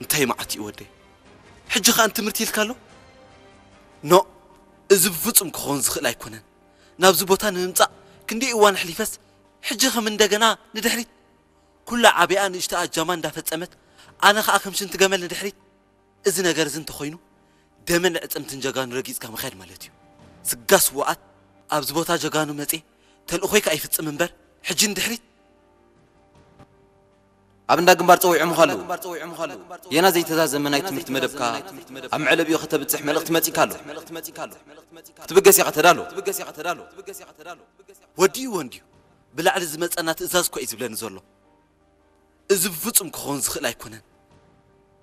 እንታይ መዓት እዩ ወደይ? ሕጂ ከኣ ንትምህርቲ ኢልካ ኣሎ? ኖ፣ እዚ ብፍጹም ክኸውን ዝኽእል ኣይኮነን። ናብዚ ቦታ ንምምጻእ ክንደይ እዋን ኣሕሊፈስ፣ ሕጂ ከም እንደገና ንድሕሪት። ኩላ ዓቢኣ ንእሽቶ ኣጃማ እንዳፈጸመት፣ ኣነ ከኣ ከም ሽንቲ ገመል ንድሕሪት። እዚ ነገር እዚ እንተኾይኑ፣ ደምን ዕጽምትን ጀጋኑ ረጊጽካ ምኻድ ማለት እዩ። ስጋ ስውኣት ኣብዚ ቦታ ጀጋኑ መጽየ፣ ተልእኾይ ከኣ ይፍጽም እምበር፣ ሕጂ ንድሕሪት። ኣብ እንዳ ግንባር ጸዊዖምኻ ኣለዉ። ጌና ዘይተዛዘመ ናይ ትምህርቲ መደብካ ኣብ መዕለቢኡ ከተብጽሕ መልእኽቲ መጺካ ኣሎ። ክትብገስ ኢኻ፣ ተዳሎ። ወዲእዎ እንድዩ። ብላዕሊ ዝመጸና ትእዛዝ እኮ እዩ ዝብለኒ ዘሎ። እዚ ብፍጹም ክኸውን ዝኽእል ኣይኮነን።